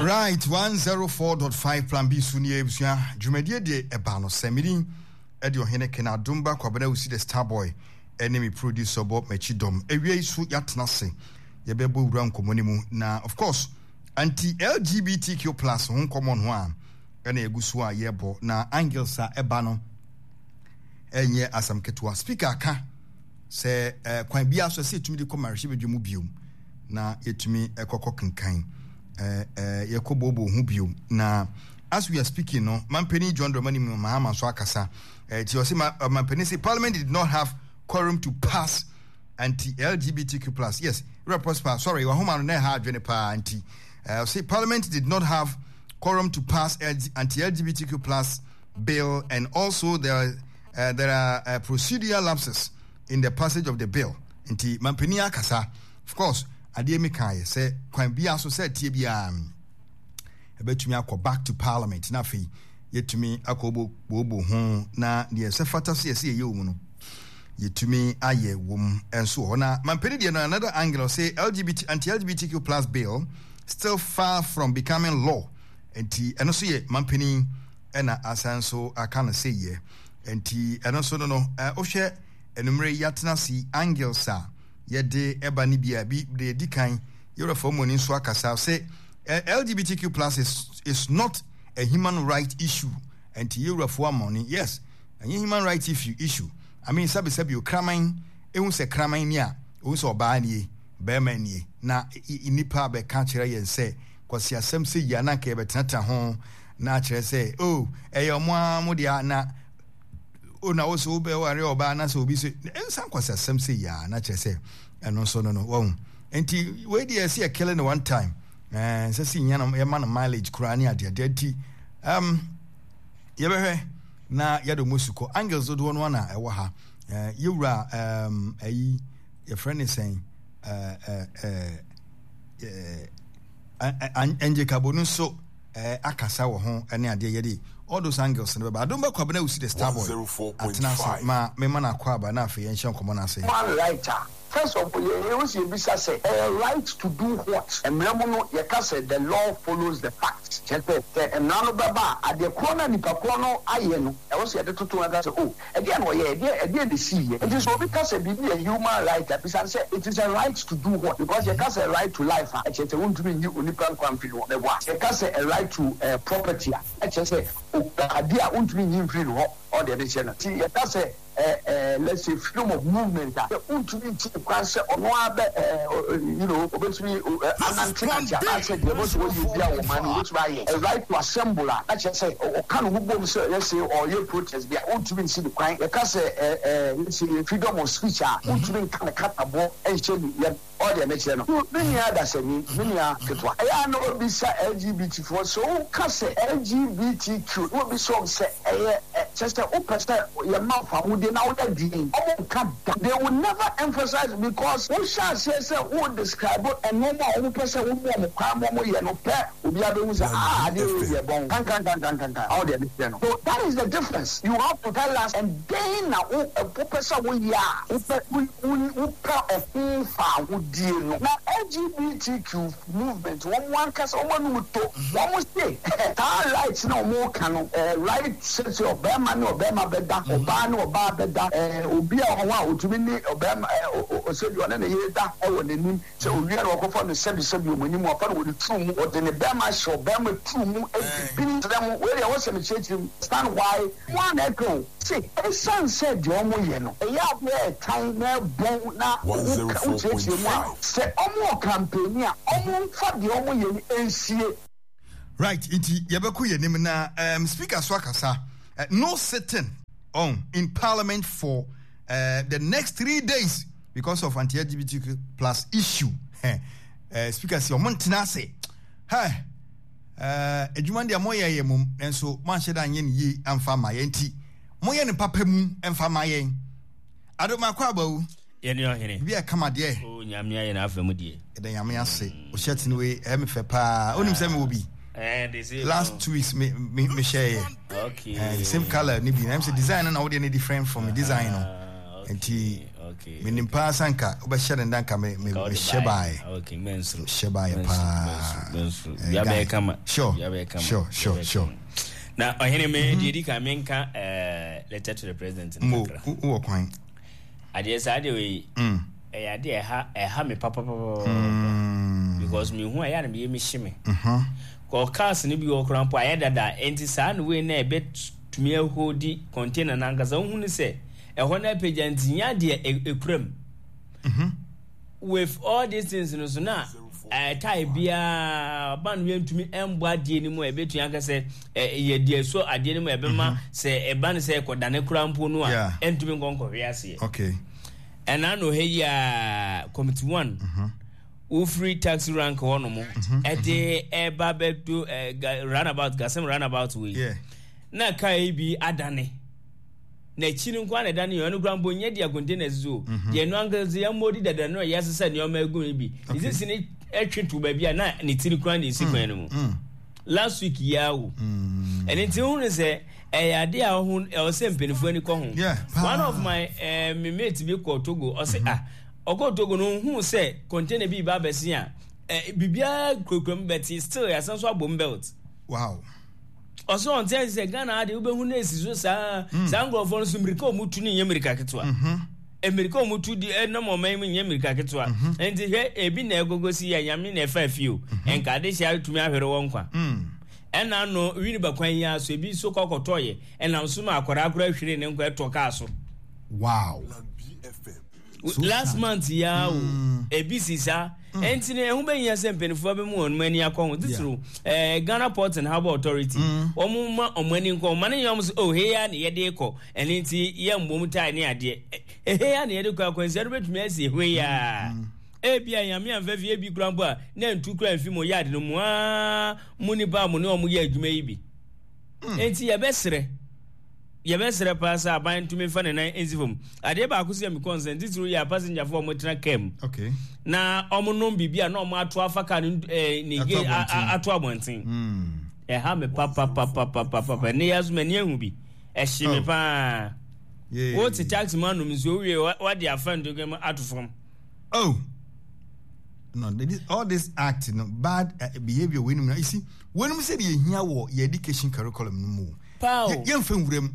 Right, 104.5 Plan B so nie abusua dwumadie deɛ ɛbaa no sɛ medin ɛde ɔhene Ken Adomba Kwabena Wusi the star boy ɛne me producer bɔ m'akyi dɔm awia yi so yɛatena ase yɛbɛbɔ wura nkɔmmɔ no mu na of course anti LGBTQ plus ho nkɔmmɔ no a ɛna yɛgu so a yɛbɔ na angles a ɛba no ɛnyɛ asɛm ketewa speaker ka Sɛ eh, kwan biara so ɛsɛ yɛtumi de kɔ mmarahyɛbadwa mu biom na yɛtumi kɔkɔ kenkan eh, eh, yɛkɔ booboo ho biom na as we are speaking no mampanin John Dramani Mahama nso akasa eh, ti ɔse ma, eh, mampanin se parliament did not have quorum to pass anti LGBTQ plus yes Rev Prosper sorry wahoma no na ɛha adwene paa nti eh, ɔse parliament did not have quorum to pass anti LGBTQ plus bill and also there uh, there are uh, procedural lapses in the passage of the bill nti mampanin akasa of course adeɛ mi kan yɛ sɛ kwan biara so sɛ tie biara ɛbɛtumi akɔ back to parliament na afei yɛtumi akɔ bobo ho na deɛ ɛsɛ fata sɛ yɛsɛ yɛyɛ wɔ mu no yɛtumi ayɛ wɔ mu nso wɔ hɔ na mampanin deɛ no another angle sɛ lgbt anti lgbtq plus bill still far from becoming law nti ɛno nso yɛ mampanin ɛna asan nso aka no sɛ yɛ nti ɛno nso no no wohwɛ anumere yi atena ase yi angles a yɛde ɛba no bi a bi deɛ ɛdi kan yɛwura fa mu ani nso akasa sɛ LGBTQ plus is, is not a human right issue nti yɛwura fo amɔne yes ɛnyɛ human right issue issue I mean sɛbi sɛbi okraman ehu sɛ kraman ni a ehu sɛ ɔbaa nie bɛrima nie na nipa bɛka kyerɛ yɛn sɛ kwasiasɛm sɛ yi a na anka yɛbɛtenatena ho na akyerɛ sɛ oh ɛyɛ ɔmo ara mo deɛ na o na wo so wobɛware ɔbaa na sɛ obi so ɛnsa nkwasiasɛm sɛ yi a na kyerɛ sɛ ɛno nso no no wɔn nti wei deɛ ɛsɛ yɛ killing no one time ɛɛ sɛ si nya no yɛma no mileage koraa ne adeɛ adeɛ nti um, yɛbɛhwɛ na yɛde ɔmo sukɔ angles dodoɔ no ana ɛwɔ ha ɛɛ yɛwura um, ɛyi yɛfrɛ ne sɛn ɛɛ ɛɛ Angel Cabo no nso akasa wɔ ho ne adeɛ yɛde all those angles no bɛba adom bɛkɔ abena wusi the star boy atena ase ma mema no akɔ aba na afei yɛnhyɛ nkɔmmɔ no ase. Human right a, first of all yɛn yɛwɔ sɛ yɛbisa sɛ ɛyɛ right to do what? Mmara mu no yɛka sɛ the law follows the facts, kyerɛ sɛ sɛ mmara no bɛba a adeɛ korɔ no a nipa korɔ no ayɛ no ɛwɔ sɛ yɛde toto ho ka sɛ oh Ɛdeɛn na ɔyɛɛ? Ɛdeɛn, ɛdeɛn na ɛsiiɛ? Nti sɛ obi ka sɛ biribi yɛ human right a, bisa no sɛ, it is a right to do what? Because yɛka sɛ right to life a, ɛkyerɛ sɛ wontumi nyi onipa nkwa mfiri ne hɔ. Meboa? Yɛka sɛ a right to property a, ɛkyerɛ sɛ okura adeɛ a wontumi nyi mfiri ne hɔ. Ɔɔ deɛ mekyerɛ no. Nti yɛka sɛ eh, eh, let's say freedom of movement a, sɛ wontumi nti no kwan sɛ ɔno ara bɛ eh, you know, obetumi eh, anantenante anaasɛ deɛ ɛbɔ sɛ wɔyɛ biara wɔ ɔman no mu, obetumi ayɛ. A right to assemble a, na kyerɛ sɛ ɔka ne ho bom sɛ let's say ɔreyɛ protest bi a, wontumi nsi no kwan. Yɛka sɛ eh, eh, let's say freedom of speech a, wontumi nka ne kataboɔ nhyɛ ne yam. Ɔɔ deɛ mekyerɛ no. So me nua adasani, me nua ketewa, ɛyɛ a na wabisa LGBT foɔ sɛ woka sɛ LGBTQ na wabisa wɔn sɛ ɛyɛ ɛ, kyerɛ sɛ wopɛ sɛ yɛma wo fawohodie na woyɛ deɛn? Wɔn nka da. They will never emphasize because wohyɛ aseɛ sɛ wo describe nnoɔma a wɔn pɛ sɛ woma wɔn kwan ma wɔn yɛ no pɛ, obiara bɛhu sɛ ah adeɛ wei deɛ ɛbɔn kankankankankankan. Ɔɔ deɛ mekyerɛ no. So that is the difference. You have to tell us ɛdɛn na wo wopɛ sɛ woyɛ a wopɛ wo Wopɛ ɔho fawohodie no. Na LGBTQ movement wɔn ankasa wɔn anum to, wɔn se saa right no a wɔn reka no, right sɛ sɛ ɔbarima ne ɔbarima bɛda, ɔbaa ne ɔbaa bɛda, obi a ɔwɔ hɔ a ɔtumi ne ɔbarima sɛbi ɔne ne yere da wɔ n'anim, sɛ ɔwie a na wakɔfa no sɛbi sɛbi wɔn anim, wafa no wɔ ne turu mu, ɔde ne barima ahyɛ ɔbarima turu mu adi bini kyerɛ mo, wei deɛ ɛwɔ sɛ mekyerɛkyerɛ mu, understand why. Mo ara na ɛka o. Se esiane sɛ deɛ wɔyɛ no ɛyɛ adeɛ a ɛtan na ɛbɔn na woka wokyerɛkyerɛ mu a, sɛ wɔwɔ kampani a, wɔmfa deɛ wɔyɛ no nsie. Right, nti yɛbɛkɔ yɛn anim na um, speaker so akasa. Uh, no sitting on in parliament for uh, the next 3 days because of anti-LGBTQ plus issue. Uh, speaker si ɔmo ntena ase. Hey. Eh, adwuma no deɛ moyɛ yɛ mom, nanso moanhyɛ da anyɛ no yie amfa amma yɛn nti, moyɛ no papa mu mfa ma yɛn. Adomakɔ abawu. Yɛne ɔhene. Bi a kama deɛ. O Nyame ayɛ n'afa mu deɛ. Yɛda Nyame ase. O shirt no wei ɛyɛ me fɛ paa. Onim sɛ mewɔ bi. Eh, the same. Last 2 weeks me me me hyɛ yɛ. Okay. Eh, the same color ni bi. Na sɛ design no na wo deɛ no different from design no. Ah, okay. Nti okay. Okay. Menim paa sɛ anka wobɛhyɛ ne nda nka me me Nka wode mehyɛ baeɛ. baeɛ. Okay, mensuro. Mehyɛ baeɛ Mensuro, paa. mensuro, mensuro. Eh, Dua guy. bɛyɛ kama. Sure, Dua bɛyɛ kama. sure, Dua sure, bɛyɛ sure. kama. Na ɔhene me deɛ di kan menka eh, letter to the president no Mo, kakra. wowɔ kwan. Adeɛ saa adeɛ wei ɛyɛ adeɛ ɛha ɛha me papapapa because mehu a ɛyɛ a na meyɛ mehye me. Kɔ cars no bi wɔ koraa mpo ayɛ dada nti saa no wei na ɛbɛtumi ahodi container no ankasa wohu no sɛ ɛhɔ no apagya nti nyɛ adeɛ ɛkura mu. With all these things no so na tae biara ban no yɛntumi mbɔ adeɛ no mu a ɛbɛtumi aka sɛ yɛ deɛ so adeɛ no mu a ɛbɛma sɛ ɛba no sɛ ɛkɔdane koraa mpo no a ɛntumi nkɔ nkɔhwe aseɛ. Okay. Ɛna no ha yi a committee one wofiri taxi rank hɔ nom ɛde ɛba bɛdo runabout gasɛm runabout wei na kaa yi bi adane. N'akyi no nko ara na ɛda no yɛ ɔno koraa mpo nyɛ deɛ containers so mhm. deɛ ɛno ankasa yɛn mmɔ dada no a yɛasesa nneɛma agu no bi ne sisi ne ɛtwe to baabi a na ne tiri koraa na esi kwan no mu mm. mm. last week yi awo mm. ɛne nti ho no sɛ ɛyɛ ade a ɔho ɛwɔ sɛ mpanimfoɔ ani kɔ ho one of my eh, me mate bi kɔ Togo ɔsɛ mm-hmm. ah ɔkɔ Togo no ohun sɛ container bi ba abɛsi a eh, biribiara kurakura mu bɛte still yɛasan so abom belt. Wow. Ɔsɛ ɔnte ase sɛ Ghana ha deɛ wobɛhu no esi so saa mm. saa nkurɔfoɔ no so mmirika a wɔtu no nyɛ mmirika ketewa mhm. mmirika a wɔtu di ɛnam ɔman mu nyɛ mmirika ketewa mhm. nti hwɛ ebi na ɛgogo si yɛ nyame na ɛfa fie o mhm. nka ade hyɛ atumi ahwere wɔn nkwa mm. ɛna no wini bakwan yi aso ebi nso kɔkɔtɔ yɛ ɛnam so ma akwadaa akora hwere ne nkwa ɛtɔ kaa so. Wow. So last sad. month ya o mm. ebi si saa mm. ɛnti no ɛho bɛhia sɛ mpanimfoɔ bɛmu wɔn ani akɔ ho titiriw ɛɛ eh, Ghana Port and Harbour Authority mm. wɔn ma wɔn ani nkɔ wɔn ma ne nyɛ wɔn sɛ oh hei ya na yɛde kɔ ɛne nti yɛ mbom tae ne adeɛ ɛhei ya na yɛde kɔ akwansia no bɛtumi asi hwei ya mm. ebi a nyame anfa fie bi kura mpo a na ntu kura nfi mo yard no mu aa mo nipa a mo ne wɔn yɛ adwuma yi bi nti yɛbɛsrɛ. Yɛbɛsrɛ paa sɛ aban ntumi mfa ne nan nsi fam. Adeɛ baako sɛ me concern titiriw yɛ apasengyafo a wɔtena kaa mu na wɔnom biribi a na wɔato afa kaa no eh, ne gate ato abɔnten. Hmm. Ɛha me papapapapapa. Ɛnɛ yɛ aso m'ani ahu bi. Ɛhye me oh. paa. Wote taxi mu anom nsuo wie wade afa ntokwa mu ato fam. Oh. No, this, all this act, no, bad uh, behavior, we know, you see, when we say the here wɔ yɛ education curriculum no mu. Paa o. Yɛmfa nwura mu.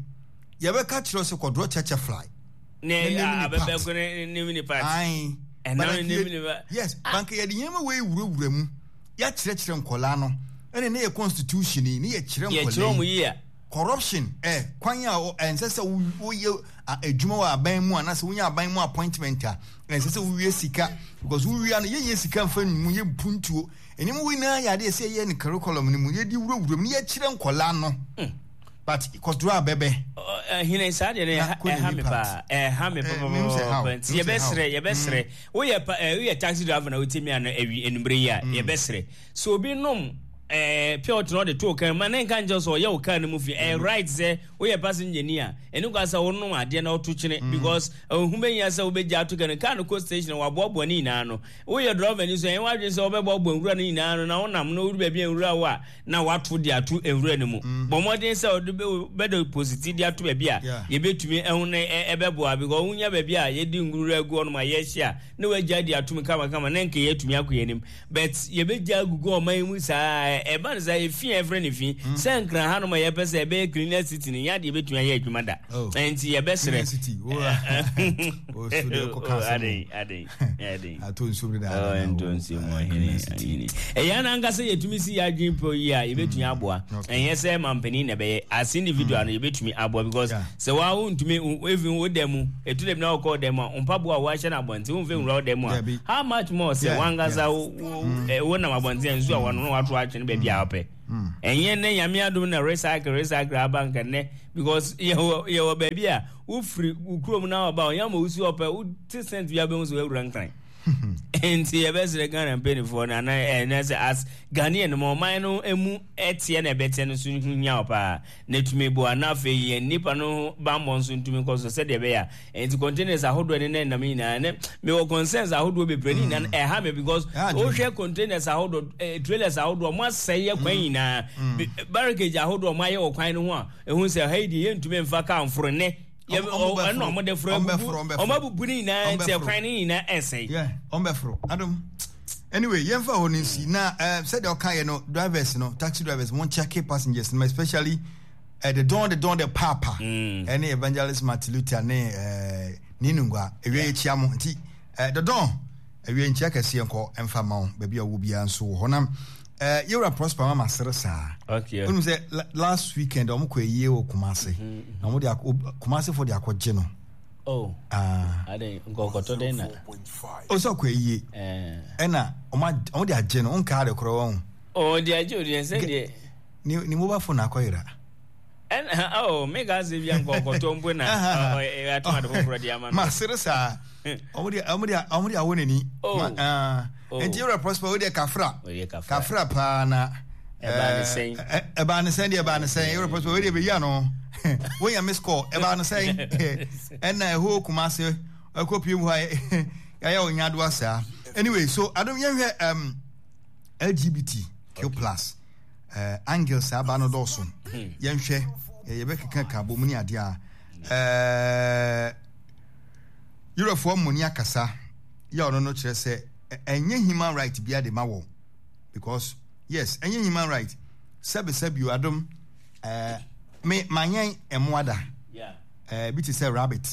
Yɛbɛka kyerɛ sɛ kɔdorɔ kyɛkyɛ fly. Ne abɛbɛko ne name ne part. Ae. Ɛnam ne name ne part. Yes, ah. banka yɛde nneɛma wei wurawura mu. Yɛakyerɛkyerɛ nkɔlaa no. Ɛne ne yɛ constitution yi, ne yɛkyerɛ nkɔlaa yi. Yɛkyerɛ wɔn yie a. Corruption, eh, kwan a ɛnsɛ sɛ woyɛ adwuma wɔ aban mu anaasɛ wonya aban mu appointment a, ɛnsɛ sɛ wowie sika because wowia no yɛnyɛ sika mfa mu yɛ mpuntuo. Nneɛma wei nyinaa yɛ adeɛ sɛ yɛyɛ no curriculum no mu, yɛde wurawura mu na yɛkyerɛ nkɔlaa no. Hmm. But kɔdoro a bɛbɛ. Hene saa deɛ no ɛha me paa ɛha me papa nti yɛbɛsrɛ yɛbɛsrɛ hmm. woyɛ pa woyɛ taxi driver na wotie mi ano awi enumere yi a hmm. yɛbɛsrɛ so obi nom ɛɛ pure water na ɔde to kan ma ne nka nkyɛn sɛ ɔyɛ wo car no mu fi ɛyɛ right sɛ woyɛ passenger ni a ɛne kwa sɛ wonom adeɛ na ɔto kyene because ɛho bɛhia sɛ wobɛgya ato kan car no kɔ station waboaboa ne nyinaa no Woyɛ drɔvani nso a, ɛnyɛ w'adwene sɛ wobɛboaboa nwura no nyinaa ano na wonam na wodu baabi a nwura wɔ a, na woato de ato nwura no mu. Mm. Bɔ mmɔden sɛ wode bɛdepositi de ato baabi a yɛbɛtumi ahu na ɛbɛboa because wonya baabi a yɛde nwura agu hɔnom a yɛhye a na woagya de atom kamakama na nka yɛatumi akɔ yɛn anim. But yɛbɛgya agugu ɔman mu saa ɛba no saa efi a ɛfrɛ no fi mm. sɛ nkran hanom a yɛpɛ sɛ ɛbɛyɛ cleaner city no nyɛ adeɛ yɛbɛtumi ayɛ adwuma da. Oh. Nti yɛbɛsrɛ. Atɔ nsuo mu dada. Ntɔ nsuo mu ɔhene ɔhene. Ɛyɛ na ankasa yɛtumi si yɛ adwene pɔ yi a yɛbɛtumi mm. aboa. Ɛnyɛ sɛ mampanin na ɛbɛyɛ as individual mm. no yɛbɛtumi aboa because sɛ waa wontumi even wo dan mu ɛtu dɛm na wokɔ dan mu a mpaboa a woahyɛ no abɔnten womfɛ nwura wo dan mu a how much more sɛ wankasa wonam abɔnten a nsuo a wɔno na wato atwene baabi a wopɛ. Ɛnyɛ nnɛ nyame adom na recycle recycle aba nka nnɛ because yɛwɔ yɛwɔ baabi a wofiri wo kurom na ɔba ɔnyɛ ama wosi ɔpɛ wote sɛnt bi abɛhu sɛ woawura nkran nti yɛbɛsrɛ Ghana mpanimfoɔ no anaa ɛnɛ sɛ as Ghanaian ma ɔman no emu ɛteɛ na ɛbɛteɛ no so ho hia wo paa na tumi boa na afei yɛn nnipa no bammɔ nso ntumi nkɔ so sɛdeɛ ɛbɛyɛ a nti containers ahodoɔ ne nam nyinaa ne mewɔ concerns ahodoɔ bebree ne nyinaa mm. ɛha me because wohwɛ containers ahodoɔ eh, trailers ahodoɔ mo asɛe yɛ kwan mm. nyinaa mm. barricade ahodoɔ mo ayɛ wɔ kwan no ho a ɛhu sɛ ha yi deɛ yɛntumi mfa kaa mforo nnɛ. Ɛna ɔmo de foro abubu ɔmo abubu ne nyinaa nti ɛkwan ne nyinaa ɛsɛe. Yeah, ɔmo bɛ foro adum. Anyway, yɛn fa hɔ no nsi na ɛɛ sɛdeɛ ɔka yɛ no drivers no taxi drivers mo check passengers no especially uh, the don the don the papa ɛne mm. evangelist Martin Luther ne ɛɛ ne nungua ewie ekyia mo nti ɛɛ the don ewie nkyia kɛseɛ nkɔ ɛnfa ma wo baabi a wo biara nso wɔ hɔ nam. Eh, yɛwura Prosper mama sere saa. Okay. Wonu sɛ last weekend ɔmo kɔ ayie wɔ Kumase. Mm -hmm. Na ɔmo de akɔ Kumase fo de akɔ gye no. Oh. Ah. Ade nkɔkɔtɔ den na. O sɛ ɔkɔ ayie. Eh. Ɛna ɔmo ɔmo de agye no nkaa de korɔ wɔn. Oh, de agye o de sɛ deɛ. Ne ne mobile phone akɔ yera. Ɛna oh me ka sɛ bia nkɔkɔtɔ mpo na atoma de foforɔ de ama no. Ma sere saa. Ɔmo de ɔmo de ɔmo de awo n'ani. Oh. Ma ah. Oh. Nti yɛwura Prosper wo deɛ kafra. Ɔyɛ kafra. Kafra paa na. Ɛbaa ne sɛn. Ɛbaa ne sɛn deɛ ɛbaa ne sɛn. Yɛwura Prosper wo deɛ bɛyi ano. Wonya miss call ɛbaa ne sɛn. Ɛna ɛhɔ Kumase ɛkɔ pie mu hɔ a yɛayɛ wo nyadoa saa. Anyway so adom yɛnhwɛ um, LGBTQ plus. Uh, angles aba no dɔɔso. Yɛnhwɛ yɛbɛkeka ka bɔ mu ne adeɛ a. Uh, Europefoɔ mmoni akasa yɛ ɔno no kyerɛ sɛ ɛnyɛ human right bia de ma wɔ because yes ɛnyɛ human right sɛbi sɛbi o adom ɛɛ me manyɛn ɛmoa da ɛɛ bi te sɛ rabbit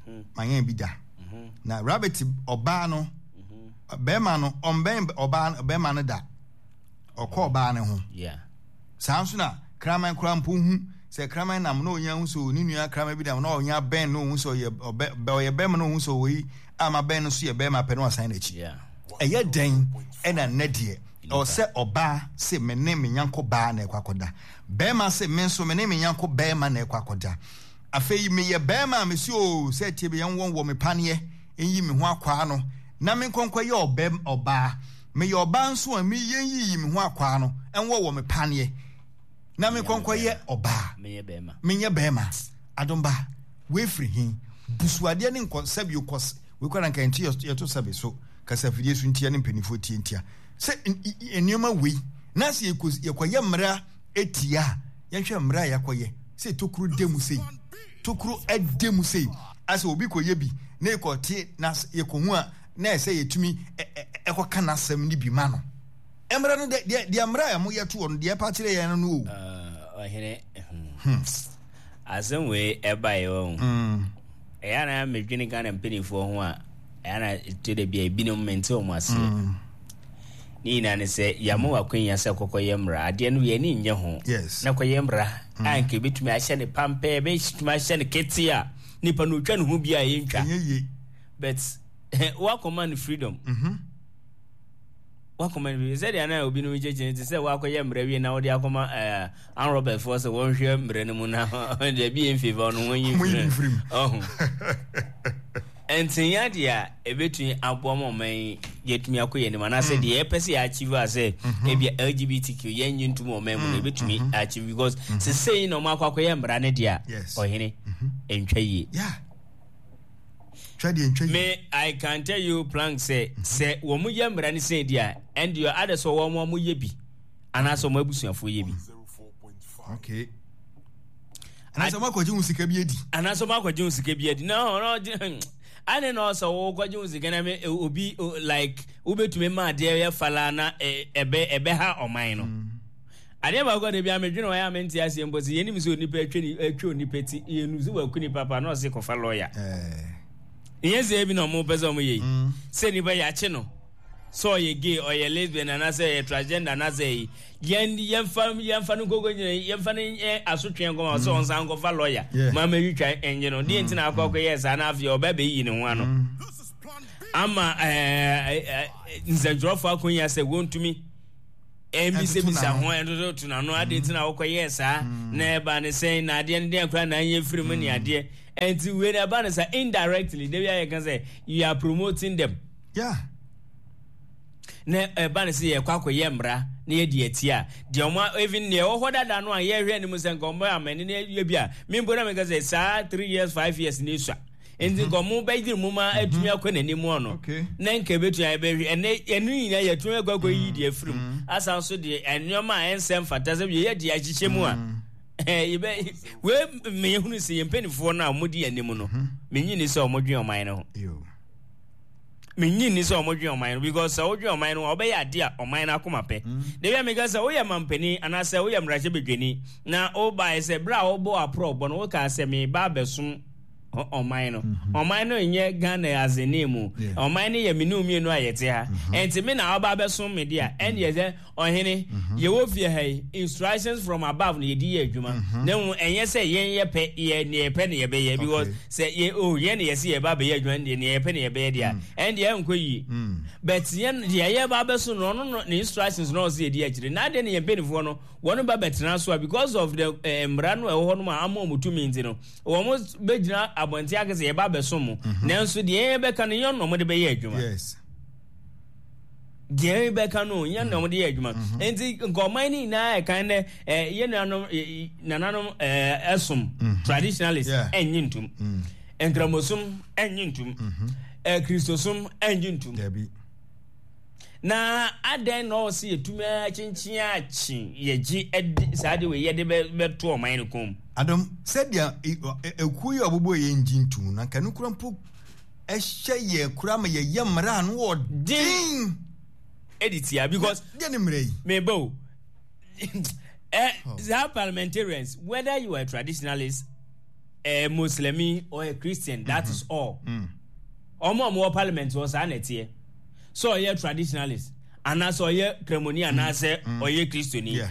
mm-hmm. manyɛn bi da mm-hmm. na rabbit ɔbaa no mm-hmm. bɛrima no ɔmbɛn ɔbaa bɛrima no da ɔkɔ ɔbaa no ho saa nso na kraman koraa mpo hu sɛ kraman nam na ɔnya hu sɛ ne nua kraman bi nam na ɔnya bɛn na ɔhu sɛ ɔyɛ ɔbɛ ɔyɛ bɛrima na ɔhu sɛ ɔyi ama bɛn no so yɛ bɛrima pɛ na wasan n'akyi ɛyɛ dɛn ɛna nnɛ deɛ ɛwɔ sɛ ɔbaa se me ne me nyanko baa na ɛkɔ akɔda bɛrima se me nso me ne me nyanko bɛrima na ɛkɔ akɔda afei meyɛ bɛrima a mesi o sɛ tie bɛyɛ nwɔ wɔ me paneɛ nyi me ho akwaa no na me nkɔnkɔ yɛ ɔbɛ ɔbaa Meyɛ ɔbaa nso a, me yɛnyiyi me ho akwaa no nwɔ wɔ me paneɛ na me nkɔnkɔ yɛ ɔbaa. Menyɛ bɛrima. Adomba, wei firi he? Busuadeɛ ne nkɔ sɛbi kɔ wei kora nka nti yɛto sɛbi so kasafidie so ntia ne mpanimfoɔ tie ntia sɛ nneɛma wei na sɛ yɛkɔyɛ mmara etia a yɛnhwɛ mmara a yɛakɔyɛ sɛ tokuro da mu sei tokuro da mu sei asɛ obi kɔyɛ bi na yɛkɔte na yɛkɔhu a na ɛsɛ yɛtumi ɛkɔka n'asɛm no bi ma no. Mmara no deɛ deɛ mmara a wɔyɛ toɔ no deɛ ɛpa kyerɛ yɛn no o. Ɔhene hmm. Asɛm wei ɛbaeɛ wɔ ho. Ɛyɛ na medwene Ghana mpanimfoɔ ho a ɛyɛ na ɛtɔ da bi a ebinom mente wɔn aseɛ. Mm. Ne nyinaa ne sɛ yɛama w'akwanya sɛ kɔkɔyɛ mmara adeɛ no yɛn ani nyɛ ho. Yes. Na kɔyɛ mmara mm. a nka ebɛtumi ahyɛ ne pampɛ ebɛtumi ahyɛ ne kete a nipa no otwa ne ho bi a yɛntwa. Ɛnyɛ yie. But wakɔma no freedom. Mm -hmm. Wakɔma no freedom. Sɛdeɛ na obinom kyɛkyɛ te sɛ wakɔyɛ mmerɛ wie na wode akɔma ɛɛ anrɔbɛfoɔ sɛ wɔnhwɛ mmerɛ no mu na deɛ bi yɛ mfefa no wɔnyi mfiri mu. Ɔho. Ntinya deɛ a ɛbɛtumi aboa ma ɔman yi yɛtumi akɔ yɛn anim anaasɛ mm. deɛ yɛpɛ sɛ yɛachieve a sɛ mm-hmm. ebia LGBTQ yɛnye ntom ɔman mu no mm, ɛbɛtumi mm-hmm. achieve because mm-hmm. sesei na ɔmo akɔ akɔyɛ mmara no deɛ a ɔhene ntwa yie. Yeah. Twa deɛ ntwa yie. Me I can tell you plank sɛ sɛ wɔn yɛ mmara no sɛn di a ɛndeɛ adɛ sɛ wɔn wɔn yɛ bi anaasɛ wɔn abusuafoɔ yɛ bi. Okay. Anaasɛ wɔn akɔgye wɔn sika bi adi. Anaasɛ wɔn akɔgye wɔn sika bi adi na ɔno ɔgye ane na ɔsɛ wɔkɔgye wɔn sika na me obi like wobɛtumi ma adeɛ yɛ fala na ɛbɛ ɛbɛ ha ɔman no. Mm. Adeɛ baako a da biara medwene ho a ɛyɛ a mente aseɛ mpo sɛ yɛnim sɛ onipa atwa ni atwa onipa ti yɛnu sɛ waku nipa pa na ɔse kɔfa lɔya. Nyɛ sɛ ebi na ɔmo pɛ sɛ ɔmo yɛ yi. Mm. Sɛ nipa yɛakye no sɛ ɔyɛ gay ɔyɛ lesbian anaasɛ ɔyɛ transgender anaasɛ yi yɛn yɛnfa yɛnfa no nkoko nyina yɛnfa no nyɛ asotwe nkɔma sɛ mm. ɔnsan nkɔfa lɔya ma ma twitwa nye no deɛ nti na akɔ akɔ yɛ saa na afei ɔbɛ bɛyi ne ho ano mm. ama ɛɛ ɛɛ nsɛntwerɛfoɔ akɔnya sɛ wɔntumi ɛmmisabisa ho ɛntototo n'ano adeɛ nti na wokɔyɛɛ saa mm. na ɛba ne sɛn na adeɛ no deɛ koraa na anyɛ firi mu ne mm. adeɛ ɛnti wei na ɛba ne sa indirectly da bi ayɛ ka sɛ you are promoting them yeah. na ɛba ne sɛ yɛkɔ akɔyɛ mmara na yɛdi akyi a deɛ ɔmo even deɛ ɛwɔ hɔ dada no a yɛhwɛ anim sɛ nka ɔmo amani na yɛ bi a mempo na meka sɛ saa 3 years 5 years na esua nti nka ɔmo bɛyere mu ma atumi akɔ n'anim ɔno na nka ebetumi ayɛ bɛhwɛ ɛnɛ ɛno nyinaa yɛtumi akɔ akɔ yi deɛ afiri mu asan so deɛ nneɛma a ɛnsɛ mfata sɛ yɛyɛ deɛ ahyehyɛ mu a. Yɛbɛ wei meyɛhunu sɛ yɛn mpanimfoɔ no a wɔdi anim no, menyi ni sɛ wɔdwen ɔman no ho. Menyi ni sɛ wɔdwen ɔman no because sɛ wodwen ɔman no a wobɛyɛ ade a ɔman no akoma pɛ. Mm. Da bi a meka sɛ woyɛ mampanin anaasɛ woyɛ mmarahyɛbadwani na wobaeɛ sɛ berɛ a wobɔ aporɔbɔ no wokaa sɛ meba abɛsom ɔman no. Mm-hmm. Ɔman no nyɛ Ghana azene mu. Ɔman no yɛ me ne mmienu a yɛte ha. Mm-hmm. Ɛnti me na ɔba abɛsom me de a ɛndeɛ sɛ Ɔhene, yɛwɔ fie ha yi, instructions from above na yɛde yɛ adwuma. Na mmom ɛnyɛ sɛ yɛn yɛpɛ, yɛ nea yɛpɛ na yɛbɛyɛ. Because sɛ yɛ, oh, yɛn na yɛse yɛba abɛyɛ adwuma no deɛ, nea yɛpɛ na yɛbɛyɛ deɛ a, ɛndeɛ ɛnkɔ yie. But yɛn, deɛ yɛba abɛso no, ɔno no, ne instructions na ɔse yɛdi akyire. Na adɛn na yɛn mpanimfoɔ no, wɔn ba bɛtena so a, because of the eh, mmara no a ɛwɔ hɔ nom a ama wɔn tumi nti no, wɔn bɛgyina abɔnten aka sɛ yɛba abɛsom mo. Nanso deɛ yɛn bɛka no, yɛn na wɔde bɛyɛ adwuma. Yes. Deɛ bɛka no yɛn na wɔde yɛ adwuma mhm. nti nka ɔman no nyinaa ɛkan nɛ yɛn nuanom nananom ɛsom mhm. traditionalist ɛnye ntum mm. nkramosom ɛnye ntum mhm. kristosom ɛnye ntum na adɛn na ɔwɔ sɛ yɛtumi akyenkyen akye yɛgye ɛde saa de wei yɛde bɛto ɔman no kɔn mu. Adom sɛdeɛ ekuo yi a ɔbobɔ yɛn ngye ntum na nka no kura mpo ɛhyɛ yɛn koraa ma yɛyɛ mmara a ano wɔ den. Ɛdi tia because. Deɛ ne mmara yi. Meba o. Eh, saa parliamentarians whether you are a traditionalist, a Muslimi or a Christian, that mm -hmm. is all. Mm. Ɔmo a ɔmo wɔ parliament wɔ saa na ɛteɛ. Sɛ ɔyɛ traditionalist anaasɛ ɔyɛ kramoni anaasɛ ɔyɛ kristoni. Yeah.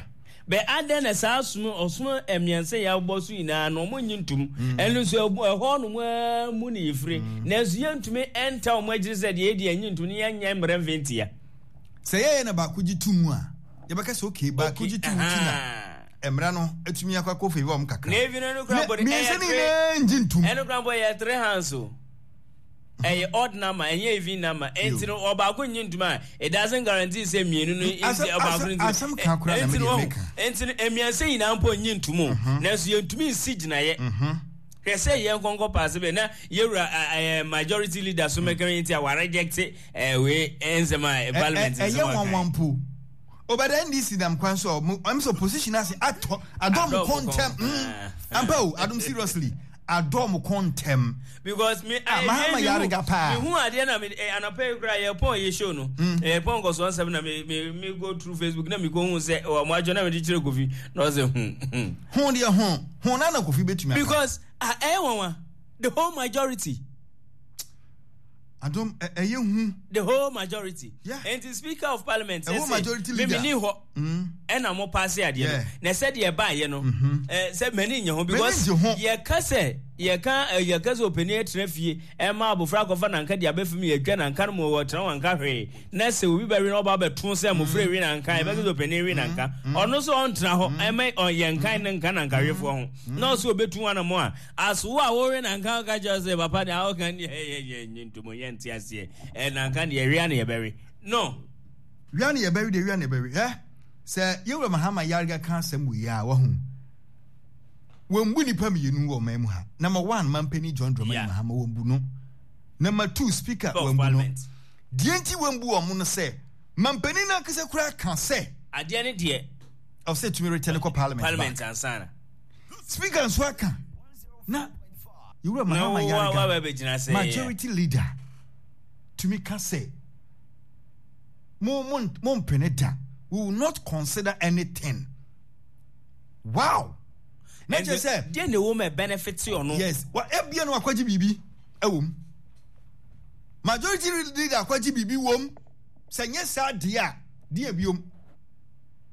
Bɛ adɛn na saa som ɔsom mmiɛnsa yi abobɔ so nyinaa no wɔn nnye ntom? Mm. Ɛno nso ɛhɔ nom ara mu ne yɛfiri. Mm. Nanso yɛntumi nta wɔn akyiri sɛ deɛ yɛdi ɛnye ntom ne yɛnyɛ mmerɛ mfe ntia. Sɛ yɛyɛ na baako gye to mu a, yɛbɛka sɛ okay baako gye to mu ti na mmara no atumi akɔ akɔ favor wɔn kakra. Na ebi no no kura bɔ mmiɛnsa ne nyinaa ngye ntom. Ɛno kura bɔ yɛ three hands o. Ɛyɛ odd number, ɛnyɛ even number. Enti no ɔbaako nnye ntom a, it doesn't guarantee sɛ mmienu no nti ɔbaako no nti. Asɛm ka koraa na mede meka. Enti no mmiɛnsa nyinaa mpo nnye ntom o. Mhm. Nanso yɛntumi nsi gyinaeɛ. Mhm. Hwɛ sɛ yɛn nkɔnkɔ paase bɛ na yɛwura ɛɛ majority leader so mɛka yi nti a wɔareject ɛɛ wei nsɛm a parliament nsɛm aka. Ɛyɛ nwanwa mpo. Obada NDC nam kwan so a ɔmo ɛm sɛ opposition ase atɔ adɔ mo kɔn ntɛm. Mm. Ampa o, adom seriously. Adɔ mo kɔn ntɛm. Because me ah, Mahama yarega paa. Me hu adeɛ na me eh, anɔpa yi koraa yɛ pɔn yɛ show no. Mm. Eh, pɔn nkɔsoɔ nsɛm na me me me go through Facebook na me ko hu sɛ wɔ mo adwo na me de kyerɛ Kofi na ɔsɛ hu. Hu deɛ hu hu na na Kofi betumi aka. Because ah, ɛyɛ nwanwa the whole majority. Adom ɛyɛ hu. The whole majority. Yeah. Nti speaker of parliament. The whole majority leader. Mímí ni hɔ. Mm. Ɛna mo paase adeɛ no. Na sɛ deɛ ɛbaayɛ no. Mm-hmm. Sɛ mɛni nye ho because yɛka sɛ yɛka yɛka sɛ opanin atena fie ɛma abofra akɔfa nanka de abɛfam yɛdwa nanka no mu ɔtena wanka hwee na sɛ obi bɛwe na ɔba abɛto sɛ mmofra ewe nanka yɛbɛka sɛ opanin we nanka mm. ɔno nso ɔntena hɔ ɛma yɛnkan ne nka nankawefoɔ ho na ɔsɛ obetu anamɔ a As wo a wowe nanka woka kyerɛ sɛ papa deɛ woka deɛ yɛ yɛ nye ntomo yɛ nte aseɛ ɛ nanka deɛ wia na yɛbɛwe no. Wia na yɛbɛwe deɛ wia na yɛbɛwe ɛ sɛ yɛwura Mahama Yarga ka asɛm wei a wahu wɔmbu nipa mmienu wɔ ɔman mu ha number one mampanin John Dramani yeah. Mahama wɔmbu no number two speaker wɔmbu no deɛ nti wɔmbu wɔn no sɛ mampanin no ankasa koraa ka sɛ adeɛ ne deɛ ɔsɛ tumi retɛ no kɔ parliament parliament ansana Speaker nso aka na yɛwura Mahama Yarga majority leader tumi ka sɛ mo mo mo mpene da we will not consider anything wow na kyerɛ sɛ deɛ na ɛwɔ mu benefit ɔno yes wa ebia no akwagye biribi ɛwɔ mu majority leader akwagye biribi wɔ mu sɛ nyɛ saa deɛ a deɛ biom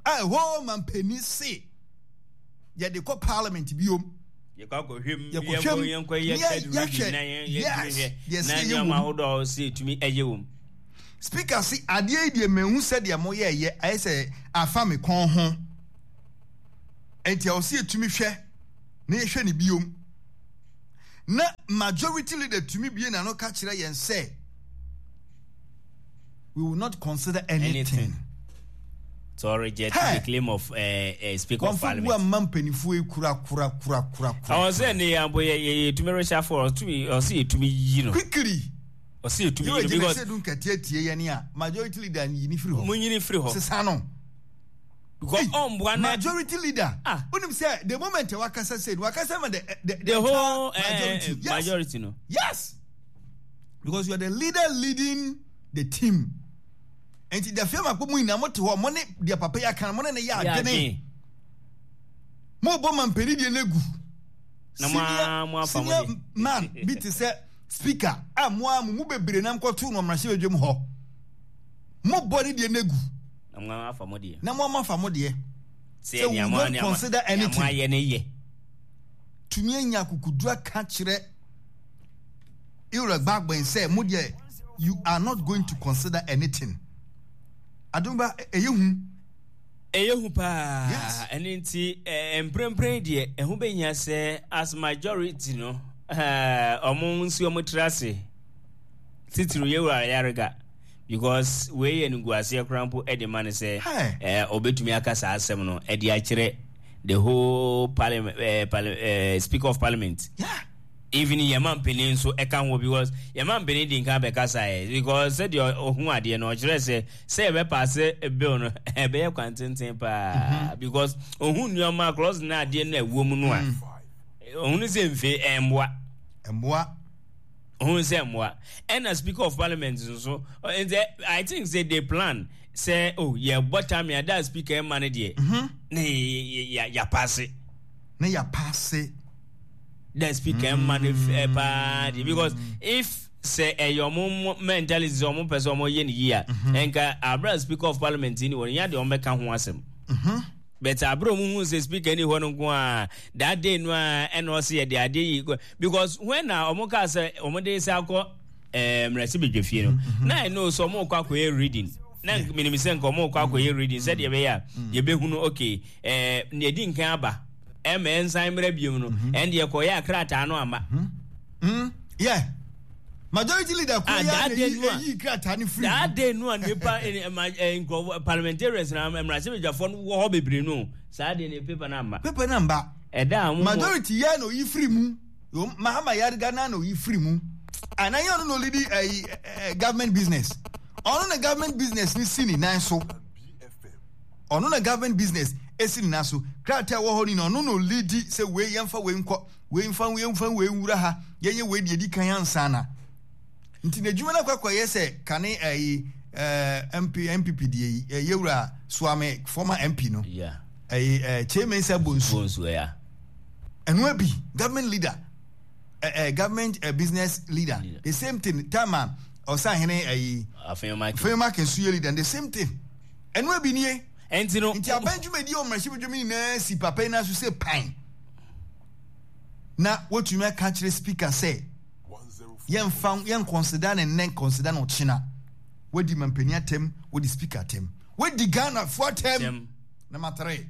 a ɛhɔ mampanin se yɛde kɔ parliament biom. Yɛkɔ akɔhwɛ mu, yɛkɔhwɛ mu, yɛnkɔ yɛ third reading na yɛn yɛtumi hwɛ na nneɛma ahodoɔ a ɔsɛ yɛtumi ɛyɛ wɔ mu. Speaker se adeɛ yi deɛ mehu sɛdeɛ moyɛɛyɛ ayɛ sɛ afa me kɔn ho nti ɛwɔ sɛ yɛtumi hwɛ na yɛhwɛ ne biom na majority leader tumi bie n'ano ka kyerɛ yɛn sɛ we will not consider anything. anything. To reject hey. the claim of uh, uh, Speaker of Parliament. Wɔn mma mpanimfoɔ yi kura kura kura kura kura. Ɔwɔ sɛ ne yɛn abo yɛ yɛ yɛtumi reshuffle ɔtumi ɔsɛ yɛtumi yi no. Quickly. Ɔsɛ yɛtumi yi no because. Yóò gyina sɛ dun kɛteɛ tie yɛn a majority leader yi ni firi hɔ. Mo nyini firi hɔ. Sisan no. Because. Because ɔmboa na majority leader. Ah. Wonim sɛ the moment wakasa sei no wakasa ma the the whole majority. Yes. Majority no. Yes. Because you are the leader leading the team. Nti the film akpɔ mu nyinaa mo te hɔ mo ne deɛ papa yi aka no mo ne ne yɛ adwene. Mo bɔ mampanin deɛ no egu. Senior senior man bi te sɛ speaker a mo a mo mu bebree nam kɔto no mmarahyɛ badwam hɔ. Mo bɔ ne deɛ no egu. Na mo afa mo deɛ. Na mo afa mo deɛ. Sɛ we don't consider anything. Nea mo ayɛ ne yɛ. Tumi anya akukuduru aka kyerɛ Ira Gbagben sɛ mo deɛ you are not going to consider anything. Adomba ɛyɛ hu. Ɛyɛ hu paa. Yes. Ɛno nti mprempren deɛ ɛho bɛhia sɛ as majority no ɔmo nsi ɔmo tiri ase titiriw yɛwura Ayariga because wei yɛ animguaseɛ koraa mpo de ma no sɛ ɔbɛtumi aka saa asɛm no de akyerɛ the whole parliament, speaker of parliament. Yeah. Even yɛn mampanin nso ɛka ho because yɛn mampanin di nkan bɛkasa ɛ because sɛdeɛ ɔhu adeɛ no ɔkyerɛ sɛ sɛ yɛbɛpaase bill no ɛbɛyɛ kwan tenten paa mhm. because ɔhu nneɛma clause no adeɛ no ɛwɔ mu no a mm. ɔhunu sɛ mfe ɛmmoa ɛmmoa ɔhunu sɛ mmoa ɛna speaker of parliament nso nti I think say they plan sɛ oh yɛbɔ time yɛada speaker ɛma no deɛ mhm. na yɛapaase na yɛapaase the speaker ɛma no mm. paa deɛ because if sɛ ɛyɛ ɔmo mentality sɛ ɔmo pɛ sɛ ɔmo yɛ ne yie a mhm. nka abira speaker of parliament ni wɔn nyɛ deɛ ɔmo bɛka ho asɛm mhm. but abira ɔmo hu sɛ speaker ni hɔ no nko a that day no a ɛna ɔsɛ yɛ de adeɛ yi because when na ɔmo kaa sɛ ɔmo de sɛ akɔ ɛɛ mmarahyɛbadwa fie no mhm. na ɛno sɛ ɔmo kɔ akɔyɛ reading na menim sɛ nka ɔmo kɔ akɔyɛ reading sɛdeɛ ɛbɛyɛ a yɛbɛhunu okay ɛɛ nea ɛdi nkan aba ɛma ɛnsan mmerɛ biom no mhm. ɛndeɛ kɔyɛ a krataa no ama. Mhm. Mm, yeah. Majority leader kuro ah, ya na eyi krataa no firi. That day no a nipa eh, eh, nkurɔfoɔ parliamentarians na mmarahyɛbadwafoɔ no wɔ hɔ bebree no saa deɛ ne paper no amma. Paper no amba. Ɛda a wɔn. Majority yɛ na oyi firi mu. Mahama Yariga na na oyi firi mu. Anan yɛ ɔno na olidi ɛyi eh, government business. Ɔno na government business ni si ne nan so. Ɔno na government business esi ne nan so. Krataa ɛwɔ hɔ ni na ɔno na olidi sɛ wei yɛmfa wei nkɔ, wei mfa yɛmfa wei nwura ha, yɛnyɛ wei deɛ edi kan ansa na. Nti n'adwuma no akɔ akɔyɛ sɛ kane ɛyi ɛɛ MP NPP deɛ yi ɛyɛ wura Suame former MP no. Yeah. Ɛyi ɛɛ Kyei Mensah Bonsu. Bonsu yeah. Ɛno abi government leader ɛɛ government uh, business leader. leader. The same thing time a ɔsahene ɛyi. Afenyo Markin nso yɛ leader the same thing. Ɛno abi nie. Ɛnti no. Nti aban dwumadi a ɔmmarahyɛbadwam nyinaa si papa yi nan so sɛ pan. Na wotumi aka akyerɛ speaker sɛ yɛmfa yɛn consider ne nnɛ consider no ɔkyena. Wadi mampanin atɛm, wadi speaker atɛm, wadi Ghanafoɔ atɛm. Number 3.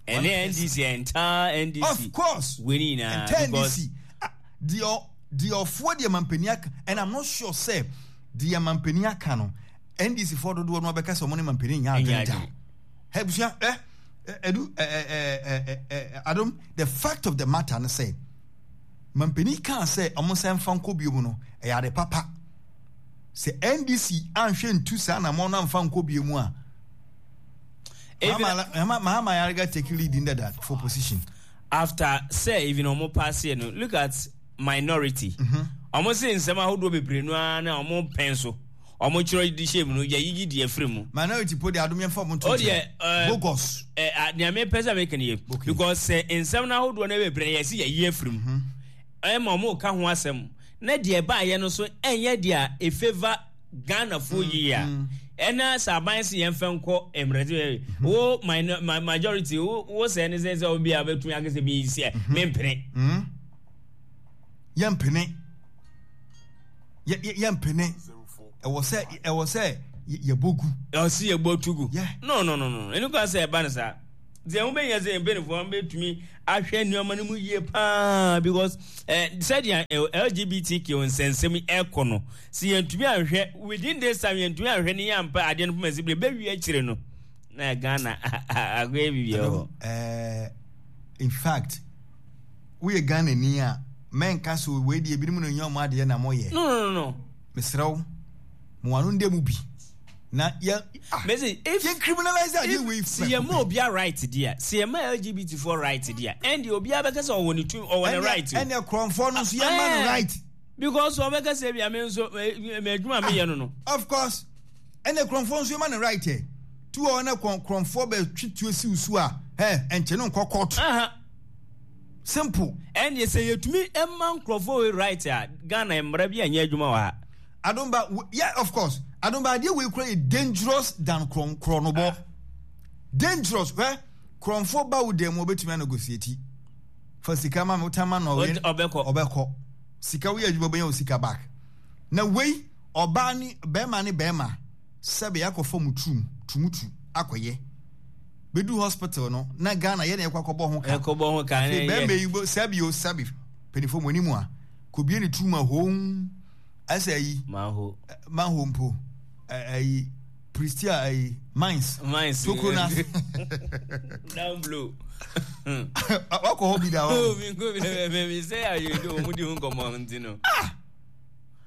Ɛne NDC entire NDC. Of course. Wei nyinaa. Entire NDC. Ah, deɛ deɛ ɔfoɔ deɛ mampanin aka and I'm not sure sɛ deɛ mampanin aka no. NDC foɔ dodoɔ no abɛka sɛ wɔn ne mampanin nyɛ adwene da. Ɛ busua ɛ ɛdu ɛ ɛ ɛ ɛ adom the fact of the matter no sɛ mampanin kaa sɛ wɔn nsa nfa nkɔ bio mu no ɛyɛ ade papa. Sɛ NDC anhwɛ ntu saa na wɔn amfa nkɔ bio mu a. Mahama Ayariga take lead in that for position. After sɛ even wɔn pass no look at minority. Wɔn mm-hmm. se nsɛm ahodoɔ bebree no ara na wɔn pɛn so. Ɔmo kyerɛ de hyɛ mu no yɛ yiyi deɛ firi mu. Minority po deɛ adom yɛn fa ɔmo nto nkyɛn. Ɔdeɛ bogus. Ɛɛ nea mi pɛ sɛ mi kan yɛ. Because sɛ nsɛm n'ahodoɔ no bebree yɛ si yɛ yi afiri mu. Ɛma ɔmo ka ho asɛm na deɛ ɛbaayɛ no so ɛnyɛ deɛ a efavour Ghana foɔ yie a. Ɛna sɛ aban sɛ yɛn fɛ nkɔ mmerɛ wo majority wo sɛ ne sɛ sɛ obi a bɛtumi akasɛ bi sɛ mempene. Yɛmpene. Yɛmpene. Ɛwɔ sɛ ɛwɔ sɛ yɛbɔ gu. Ɛwɔ sɛ yɛbɔ tu gu. No no no no. Ɛno kwan sɛ ɛba no saa. Nti ɛho bɛhia sɛ yɛn mpanimfoɔ bɛtumi ahwɛ nneɛma no mu yie paa because eh, sɛdeɛ LGBTQ nsɛnsɛm ɛkɔ no sɛ yɛntumi anhwɛ within this time yɛntumi anhwɛ ne yɛampa adeɛ no poma si bere bɛwie akyire no na Ghana akɔyɛ biribi wɔ hɔ. In fact woyɛ Ghanani a, mɛnka sɛ wei deɛ ebinom na ɛnyɛ wɔn adeɛ na moyɛ. No, no, no, no. Mesrɛ wo, mo ano nda mu bi. Na yɛ ah. Mese if yɛn criminalize adeɛ wei si yɛ ma obia right deɛ si yɛ ma LGBT foɔ right deɛ ɛnde obia bɛka sɛ ɔwɔ ne tumi ɔwɔ ne right. Ɛnna kurɔnfoɔ no nso yɛ ma no right. Because ɔbɛka sɛ bia me nso mɛ adwuma meyɛ no no. Of course ɛnna kurɔnfoɔ nso yɛ ma no right ɛ tu hɔ na kurɔnfoɔ bɛ twi tuo si so a ɛ ɛnkyɛn no nkɔ court. Simple. Ɛnde sɛ yɛtumi ma nkurɔfoɔ wei right a Ghana mmara bi anyɛ adwuma wɔ ha. Adomba, yeah, of course. Adomba, adeɛ wei kura yɛ dangerous than korɔn korɔnobɔ. Ah. Dangerous, hwɛ. Korɔnfoɔ ba wo dan mu ɔbɛtumi anegotiate. Fa sika ma me, wotan ma no ɔbɛkɔ. Ɔbɛkɔ. Sika woyɛ adwuma bɛnya wo sika back. Na wei, ɔbaa ne bɛrima ne bɛrima sɛbe akɔfa mu turum, tumutu akɔyɛ. Bɛdu hospital no, na Ghana yɛ na yɛkɔ akɔbɔ ho ka. Ɛkɔbɔ ho ka. Afei bɛrima yi, sɛbe o, sɛbe, mpanimfoɔ mo anim a, kɔbie ne turum a hoo. Ɛsɛ ayi. Manho. Manho mpo. Ayi. Pristia ayi. Mines. Mines. Tokuro na. Down blow. Wakɔ hɔ bi da hɔ. Oh, mi nko bi na mi mi sɛ ayi do wɔn di ho nkɔmɔ nti no. Ah.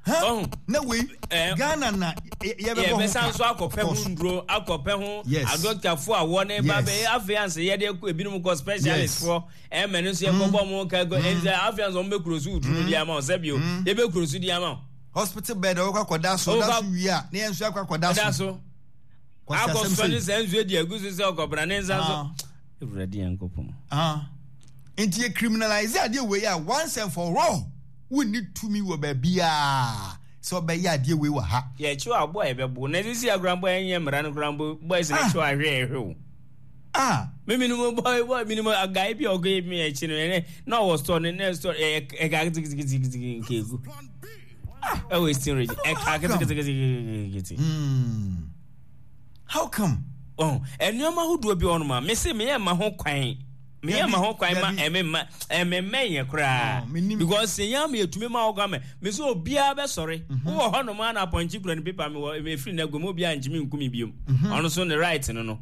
Huh? Na wei eh, Ghana na yɛbɛbɔ ho ka. Yɛbɛsan so akɔpɛ ho nduro akɔpɛ ho adɔktafo a wɔne ba bɛyɛ afei ansa yɛde ebinom kɔ specialist foɔ. Ɛmɛ no nso yɛkɔbɔ ɔmo ka kɔ ɛnti afei nso ɔmo bɛ kuro so woturu no di ama wo sɛ bio yɛbɛ kuro so di ama wo. Hospital bed ɔkɔ akɔda so ɔda so wie a ne yɛn nso akɔ akɔda so. Akɔ sɔ ne sɛ nsuo di agu so sɛ ɔkɔbra ne nsa so. Ewurade yɛn kɔpɔn. Nti yɛ criminalize adeɛ wei a once and for all wonni tumi wɔ baabiara sɛ ɔbɛyɛ adeɛ wei wɔ ha. Yɛkyew aboa a yɛbɛbo na sisi agorɔ mpo ɛnyɛ mmara no koraa mpo boys no kyew ahwɛ ɛhwɛ o. Ah. Me minimum boy boy minimum a guy bi ɔkɔ yɛ mi akyi no ɛnɛ na ɔwɔ store ne ne store ɛyɛ ɛka kitikitikitikiti nkeegu. Ah, ɛwɔ eastern region ɛka kitikitikitikiti. Hmm. How come? Oh, nneɛma ahodoɔ bi wɔ nom a mese meyɛ ma ho kwan meyɛ ma ho kwan ma ɛme ma ɛme mmɛn yɛ koraa because sɛ yɛn ama yɛtumi ma ɔkɔ ama me sɛ obiara bɛsɔre mhm. wowɔ hɔ nom a na apɔnkye kura ne pepa me wɔ efiri na guom obiara ntumi nkumi biom mhm. ɔno so ne right no no.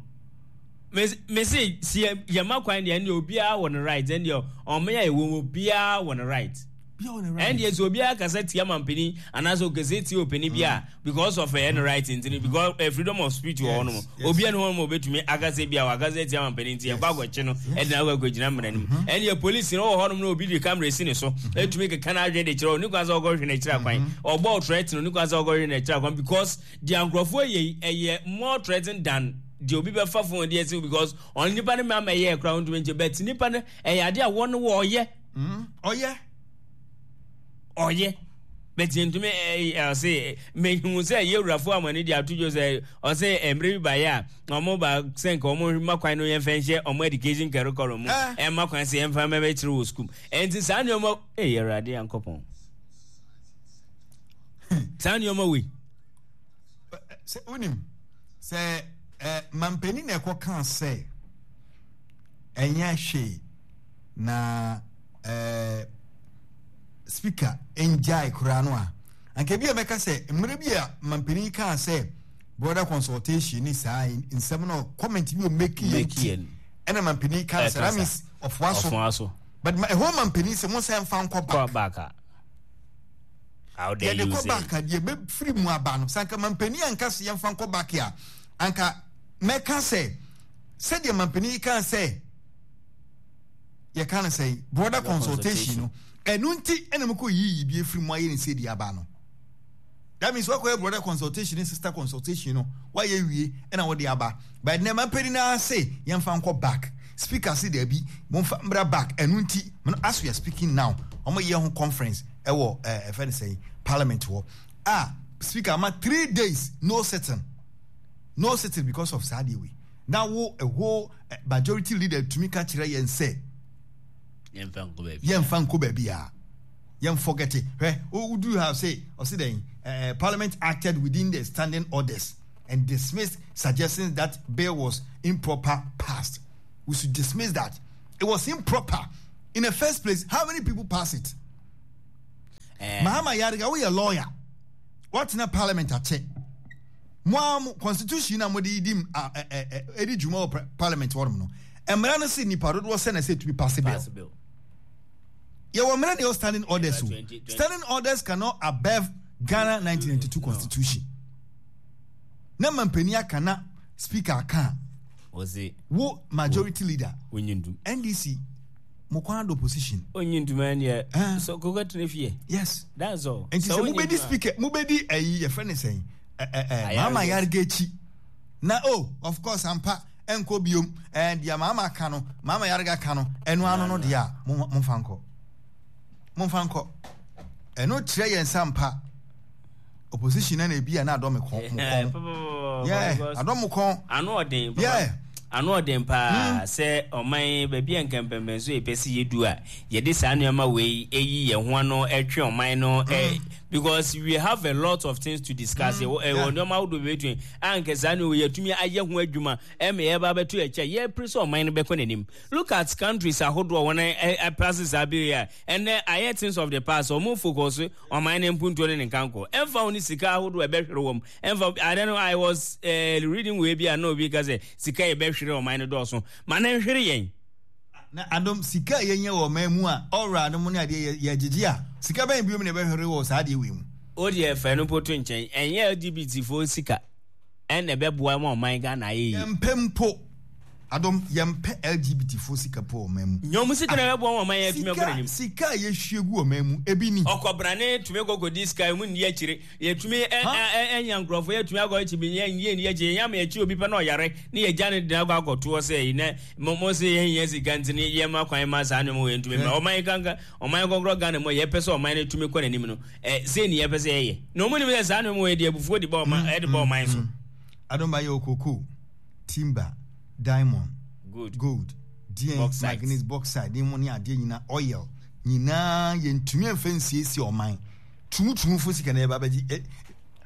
Me se si yɛ ma kwan deɛ ɛndeɛ obiara wɔ ne right ɛndeɛ ɔmo yɛ ɛwɔ mu obiara wɔ ne right ɛndeɛ sɛ obiara kasa tia mampanin anaasɛ ɔkasa tia ɔpanin bi a mm. because of ɛyɛ ne right nti no because uh, freedom of speech wɔ hɔ nom obiara ne hɔ nom obetumi akasa bi a wakasa tia mampanin nti yɛkɔ akɔkye no ɛde na akɔ akɔgyina mmara no mu mm-hmm. ɛndeɛ polisi no wɔ hɔ nom na obi de camera si ne so mm-hmm. etumi keka n'adwene de kyerɛ ɔne kwan sɛ ɔkɔhwɛ n'akyiri akwan mm-hmm. ɔbɔ ɔtrɛt no ne kwan sɛ ɔkɔhwɛ n'akyiri akwan because Deɛ nkurɔfoɔ yɛ yi ɛyɛ more threatening than deɛ obi bɛfa phone de asi because ɔno nipa no mma ɛyɛ koraa ɔntumi nkyɛ but nipa no ɛyɛ adeɛ a wɔn wɔyɛ. Mm, ɔyɛ. Ɔyɛ but ntumi ɛɛ ɔse mehu sɛ yɛwurafo amani de ato dwo sɛ ɔse mmerɛ bi baeɛ a wɔn ba sɛ nka wɔn ma kwan no yɛmfa nhyɛ wɔn education curriculum mu ɛma kwan sɛ yɛmfa mɛbɛkyerɛ wɔ sukuu ɛnti saa nneɛma ɛyɛ awurade yankɔpɔn saa nneɛma wei. Sɛ wonim sɛ eh, mampanin na ɛkɔ kaa sɛ ɛnyɛ hwee na eh, speaker ngyae koraa no a anka bi a mɛka sɛ mmerɛ bi a mampanin kaa sɛ broader consultation ne saa nsɛm no comment bi o make yɛ nti ɛna mampanin kaa sɛ that means ɔfoa so but ɛhɔ mampanin sɛ mo nsa mfa nkɔ back. How dare Yɛde you kɔ say? back a deɛ bɛfiri mu aba no, sɛ anka mampanin anka sɛ yɛmfa nkɔ back a, anka mɛka sɛ sɛdeɛ mampanin yi kaa sɛ yɛka no sɛ broader consultation no, ɛno nti ɛna mokɔ yiyi bi afiri mu ayɛ ne sɛ deɛ aba no. That means wakɔyɛ brother consultation ne sister consultation no wayɛ wie ɛna wɔde aba. But nɛ mampanin no ara se yɛmfa nkɔ back. Speaker se daabi momfa mbra back ɛno nti as we are speaking now wɔn yɛ ho conference ɛwɔ ɛɛ ɛfɛ ne sɛn parliament hɔ a speaker ama 3 days no sitting, no sitting because of saa adeɛ wei. Na wo a whole majority leader tumi ka kyerɛ yɛn sɛ yɛmfa nkɔ baabi yɛmfa nkɔ baabi a yɛn forget it. Hwɛ, wo do have say ɔsi dɛn parliament acted within the standing orders and dismissed suggestions that bill was improper passed. We should dismiss that. It was improper in the first place. How many people pass it? Mahama Ayariga, woyɛ lawyer, watena parliament akyɛ mo a mo constitution na mo de di edi dwuma wɔ parliament hɔ nom no, mmara no se nipa dodoɔ sɛ na ɛsɛ etumi pass bill. Yɛwɔ mmara na yɛwɔ standing orders o. Standing orders cannot above Ghana 1992 constitution. Na mampanin aka na speaker aka a. Ɔse. Wo majority leader. Wonyi ntum. NDC mo kwan adɔ position. Onyi ntum ɛneɛ. Eh. So koko tena fie. Yes. That's all. Nti sɛ mobɛdi speaker mobɛdi ɛyi yɛfrɛ ne sɛn ɛɛ ɛɛ maama yarega akyi na oh of course ampa ɛnkɔ biom ɛɛ deɛ maama ka no maama yarega ka no ɛno ano no deɛ a mo momfa nkɔ momfa nkɔ ɛno kyerɛ yɛn nsa mpa opposition na ebi a na adɔ me kɔn mo kɔn yeah adɔ mo kɔn ano ɔden yeah ano ɔden paa hmm. sɛ ɔman baabi a nkɛmpɛmpɛn so yɛpɛ sɛ yɛdu a yɛde saa nneɛma wei ɛyi yɛn ho ano ɛtwe ɔman no hmm. because we have a lot of things to discuss hmm. ɛwɔ nneɛma ahodoɔ bɛtumi a nkɛ saa nneɛma yɛtumi ayɛ ho adwuma ɛma yɛba bɛto yɛkyɛ yɛpere sɛ ɔman no bɛkɔ n'anim look at countries ahodoɔ wɔn ɛpaase saa bill a ɛnɛ ayɛ things of the past wɔn focus Ɔman no mpuntuo ne ne nkankɔ. Ɛmfa ho ne sika ahodoɔ a ɛbɛhwere wɔm. Ɛmfa I don't know, I was uh, reading wei bi a na obi ka sɛ sika yɛbɛhwere ɔman no dɔɔso. Ma no nhwere yɛn. Na adom sika a yɛnya wɔ ɔman mu a ɔwura no mu ne adeɛ yɛgyegye a sika bɛn biom na ɛbɛhwere wɔ saa adeɛ wei mu. O deɛ fa ɛno mpo to nkyɛn. Ɛnyɛ LGBT foɔ sika ɛna ɛbɛboa ma ɔman Ghana ayɛ yie. Yɛmpɛ mpo. Adom, yɛmpɛ LGBT foɔ sika po wɔ ɔman mu. Nyɛ ɔmo sika na ɛbɛboa wɔn ɔman yɛ atumi akɔ n'anim. Sika a yɛhwie gu ɔman mu, ebi ni. Ɔkɔbrane tumi kɔ kɔdi sika, emu nni akyire. Yɛtumi ɛ ɛ ɛ nya nkorɔfoɔ, yɛtumi akɔ akyi bi, yɛn yɛn nni akyire. Yɛn ama yɛkyi obi pɛ na ɔyare, ne yɛgya no de no akɔ akɔtoɔ sɛ yi na mo mo se yɛn hia sika nti ne yɛn ma kwan ma saa nneɛma wei ntumi mma. Ɔman kanka, ɔman kɔkorɔ Ghana mu a yɛpɛ sɛ ɔman no tumi kɔ n'anim no, ɛ sei ne yɛpɛ sɛ yɛyɛ. Na ɔmo nim sɛ saa nneɛma wei de abufuo de ba ɔman ɛde ba ɔman so. Adom ba yɛ okoko. Timber, diamond, gold, gold deɛn, manganese, bauxite ne mu ne adeɛ nyinaa, oil nyinaa yɛntumi mfa nsiesie ɔman. Tumutumufo sika na yɛba bɛgye. Eh,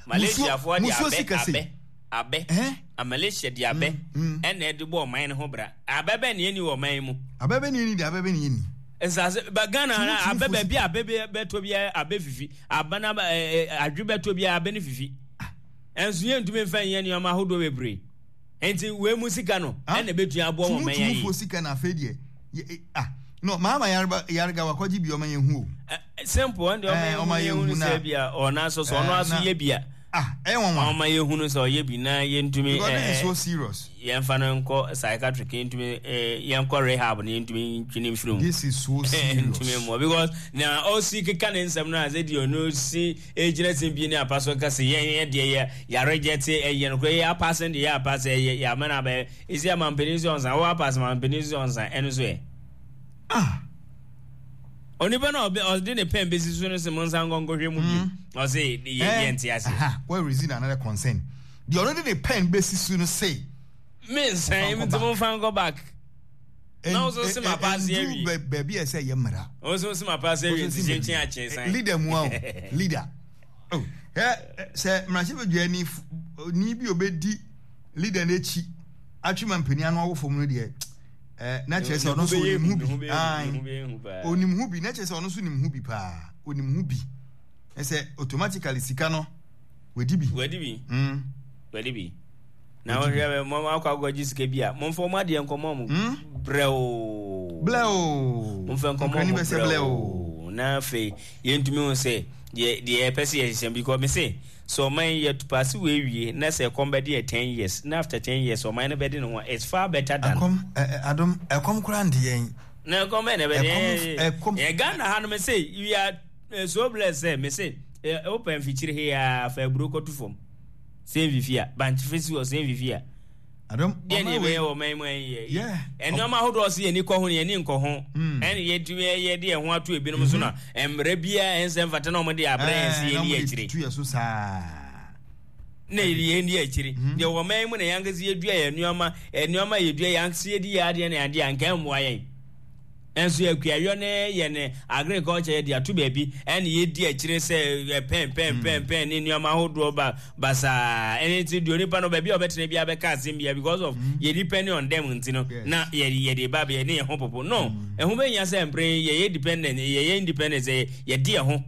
Malaysiafoɔ de abɛ, abɛ, abɛ, eh? Malaysia de abɛ mm, mm. ɛna ɛde bɔ ɔman no ho bra. Abɛ bɛ ne ɛni wɔ ɔman yi mu. Abɛ bɛ ne ɛni de abɛ bɛ ne ɛni. Nsase ba Ghana abɛ baabi abɛ bɛtɔ bi abɛ fifi aba na adwe bɛtɔ bi abɛ ne fifi. Ɛnso yɛntumi mfa nyɛ nneɛma ahodoɔ bebree. Nti wei mu sika no ɛna ɛbɛtumi aboa wɔn mɛnya yi. Tumutumufoɔ sika na afei deɛ ah no maama yareba yarega wakɔgye bi ɔma yɛn hu o. Simple ɛn deɛ ɔma yɛn hu sɛ bi a ɔna so so ɔno aso yɛ bi a. Ah ɛyɛ wɔn wa. Ɔma yɛn hu no sɛ ɔyɛ bi na yɛntumi. Because this is so serious. Yɛnfa no nkɔ psychiatric yɛntumi yɛnkɔ rehab na yɛntumi ntwe ne mfiri mu. This is so serious. Ntumi mmoa because na ɔsi keka ne nsɛm no a sɛ deɛ ɔno si Egyina simpie ne apa so ka se yɛn yɛ deɛ yɛ yaregyɛte ɛyɛ nokorɛ yɛ apase deɛ yɛ apase ɛyɛ yɛ amena abɛyɛ esi amampanin so ɔnsa wɔ apase mampanin so ɔnsa ɛno so ɛ. Ah. Onipa na ɔbɛ ɔde ne pɛn besi so no se mo nsa nkɔ nkɔhwɛ mu bio hmm. ɔse yɛ yɛ nte ase. Aha where is it another concern deɛ ɔno de ne pɛn besi so no se. Me nsan nti mo nfa nkɔ back. Na wo so se ma paase awie. Ndu baabi a ɛsɛ yɛ mmara. Wo so se ma paase awie nti kyenkyen akyen san. Leader mu a leader. Oh, ɛ sɛ mmarahyɛbadwa ni ni bi obedi leader n'akyi atwe ma mpanyin ano awɔ fam no deɛ ɛ na kyerɛ sɛ ɔno nso onim ho bi. Onim ho bi na kyerɛ sɛ ɔno nso nim ho bi paa. Onim ho bi. Ɛsɛ automatically sika no wadi bi. Wadi bi. Mm. Wadi bi. Na wohwɛ mo akɔ akɔgye sika bi a momfa ɔmo adeɛ nkɔmɔ mo hmm? brɛoo brɛoo momfa nkɔmɔ mo brɛoo na afei yɛntumi hu sɛ deɛ deɛ yɛpɛ sɛ yɛhyehyɛ because me se sɛ ɔman yɛ paase wɔ awie na sɛ ɛkɔm bɛde yɛ ten years na after ten years ɔman no bɛde ne ho it's far better than ɛkɔm adom ɛkɔm koraa nde yɛn na ɛkɔm bɛn na ɛbɛde yɛn yɛ Ghana ha no me se we are eh, so blessed sɛ me se wopɛ mfikyiri he a fa aburo kɔto fam Sɛ mfifi a, bankye fesi hɔ sɛ mfifi a. Adom, Deɛ ne yɛbɛyɛ wɔ ɔman mu ɛnyɛ. Nneɛma ahodoɔ sɛ yɛni kɔ ho no yɛni nkɔ ho. Hmm. Ɛne yɛtumi yɛde yɛn ho ato ebinom so na mhm. mmerɛ biara ɛnsɛ mfata na wɔde abrɛ yɛn sɛ yɛni akyire. Tu yɛ so saa. Na yɛni akyire. Mhm. Deɛ wɔ ɔman mu na yɛn ankasa yɛdua yɛn nneɛma nneɛma yɛdua yɛn ankasa yɛdi yɛn adeɛ na adeɛ anka mmoa yɛn. Nso akuayɔ ne yɛn agriculture yɛde ato baabi ɛna yɛdi akyire sɛ pɛn pɛn pɛn pɛn ne nneɛma ahodoɔ ba basaa ɛne nti deɛ onipa no baabi a ɔbɛtena biara bɛka asɛm biara because of mm. yɛ depending on them nti no na yɛde yɛde ba bɛyɛ ne yɛn ho popo no mm. ɛho bɛnya sɛ mpere yɛyɛ dependent yɛyɛ independent sɛ yɛde yɛn ho.